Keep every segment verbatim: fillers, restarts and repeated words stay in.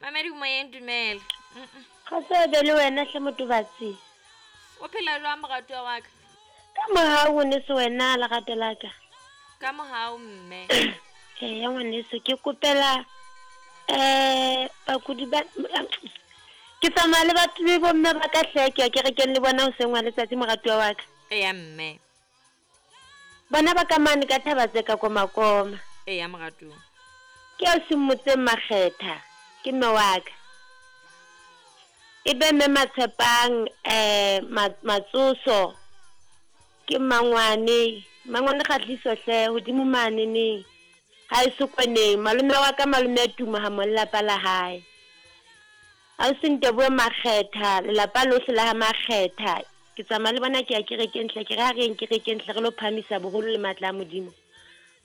Mamedi moyeng, dumela. Mm-mm. Ga se be le wena hle motobatsi. O phela jwang moratuwa wa ka? Ka mohau ngwaneso wena lerato la ka. Ka mohau mme. Eya ngwaneso ke kopela eh bakudi ba ke tsamaya le batho le bomme ba ka hle ke ya kerekeng le bona hoseng wa letsatsi moratuwa wa ka. Eya mme. Bona ba ka mane ka thaba tse ka komakoma. Eya moratuwa. Ke a simotseng makgetha ke mme wa ka. E be mme Matshepang eh Matsoso ke mangwane mangwane kgatliso hle hodimo mane ne ha e sokwaneng malome wa ka malome a tuma ha mo lelapa la hae. Ha o sente bue makgetha lelapa lohle la ha makgetha ke tsamaya le bona ke ya kerekeng hle ke re ha re kerekeng hle re lo phamisa boholo le matla a Modimo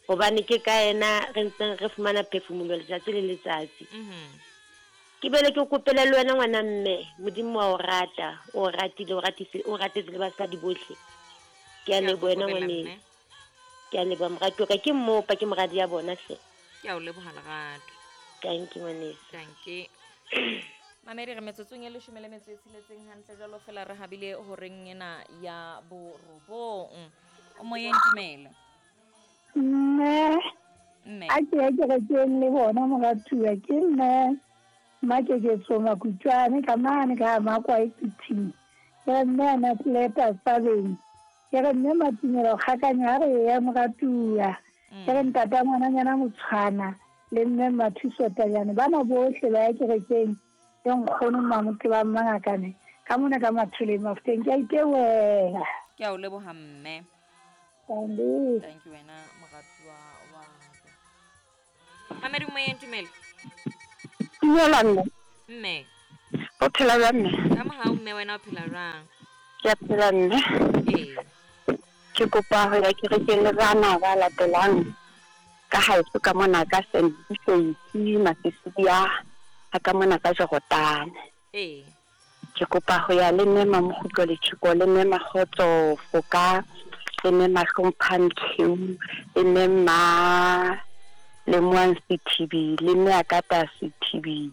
hobane ke ka yena re ntseng re fumana phefumolo letsatsi le letsatsi. Ke bele ke kopele le wena ngwana mme Modimo wa o rata o ratile o ratise o ratetse le basadi bohle. Ke a leboha wena ngwane. Ke a leboha moratuwa ka ke mmopa ke moradi ya bona hle. Ke a o leboha lerato. Thank you ngwaneso. Thank you. Mamedi re metsotsong e leshome le metso e tsheletseng hantle jwalo fela re habile horeng ena ya borobong. O moyeng, dumela. Mme. Mme. A ke ya kerekeng le bona moratuwa ke mme Makeketso Makutswane ka mane ka Makwa e Piting. Ke re mme ana tleta tsabeng. Ke re mme Matumelo kgakanya ha re ya moratuwa. Ke re ntata ngwananyana Motshwana le mme Mathuso Tanyane bana bohle ba ya kerekeng. Le nkgono Mamote ba Mangakane ka mona ka Mathole Mafuteng ke a itebohela. Ke a o leboha mme. Thank you. Thank you wena moratuwa wa ka. Mamedi moyeng, dumela. Dumela mme. Mme. O phela jwang mme? Ka mohau mme, wena o phela jwang? Ke a phela mme. Ee. Ke kopa ho ya kerekeng le bana ba latelang ka haeso ka mona ka Sentsisi Masisiya ha ka mona ka Jorotane. Ee. Ke kopa ho ya le mme Mamokgutlo Letjhiko le mme Makgotso Foka le mme Mahlomphang Kheu le mme Ma le Moang Sethibi le mme Akata Sethibi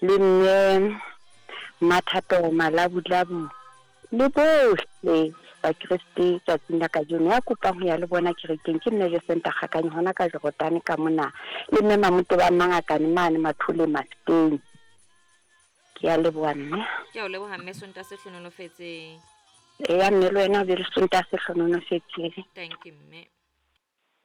le mme Mathato Malabulabu le bohle Bakreste tsatsing la kajeno. Ya kopang ho ya le bona kerekeng ke mme Jesenta Kgakanye hona ka Jorotane ka mona le mme Mamote ba Mangakane mane Mathole Mafuteng. Ke a leboha mme. Ke a o leboha mme, Sontaha se hlohonolofetseng. Eya mme le wena o be le Sontaha se hlohonolofetseng. Thank you mme.